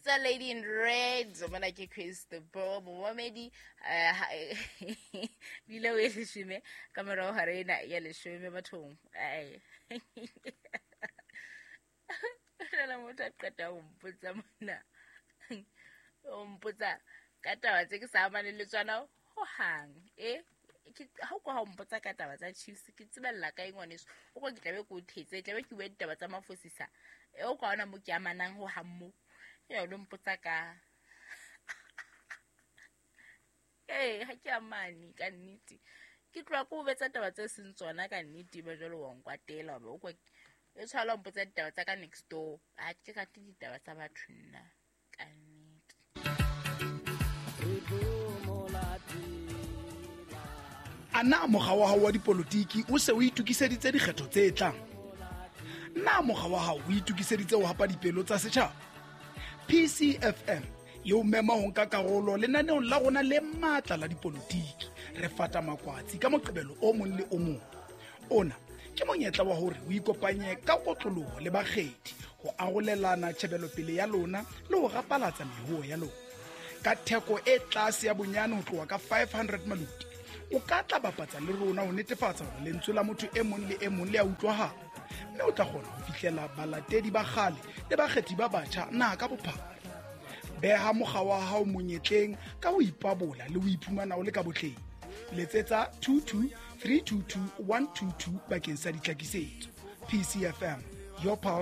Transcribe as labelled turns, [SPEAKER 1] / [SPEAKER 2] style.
[SPEAKER 1] Bitsa Lady in Red, mona ke Chris the Bo momamedi, bile o e leshome ka morago ga rena ya leshome bathong. Ai, fela motho a qeta ho mpotsa mona, o mpotsa ka taba tse ke sa amaneng le tsona hohang. E ha o kwa ha o mpotsa ka taba tsa Chiefs, ke tsebella kae ngwaneso? O kwa ke tlabe ke o thetse, tlabe ke bua ditaba tsa mafosisa. E o kwa ona mo ke amanang ho hang mo ya o lo mpotsa ka ee, ha ke amane ka nnete. Ke tloha ke o betsa taba tse seng tsona ka nnete, ba jwale wa nkwatela wa ba o kwa e tshwala o mpotsa ditaba tsa ka next door. A ke rate ditaba tsa batho nna ka nnete.
[SPEAKER 2] A na mokga wa hao wa dipolotiki o se o itokiseditse dikgetho tse tlang? Na mokga wa hao o itokiseditse ho hapa dipelo tsa setjhaba? PCFM e o mema ho nka karolo lenaneong la rona le matla la dipolotiki. Re fata makwatsi ka Moqebelo o mong le o mong. Ona ke monyetla wa hore o ikopanye ka kotloloho le bakgethi ho arolelana tjhebelopele ya lona le ho rapalatsa mehoho ya lona ka theko e tlase ya bonyane ho tloha ka 500 maluti. O ka tla bapatsa le rona ho netefatsa hore lentswe la motho e mong le e mong le a utlwahala, mme o tla kgona ho fihlela balatedi ba kgale le bakgethi ba batjha naha ka bophara. Beha mokga wa hao monyetleng ka ho ipabola le ho iphumana o le ka botleng. Letsetsa 22 322 122 bakeng sa ditlhakisetso. PCFM, your power.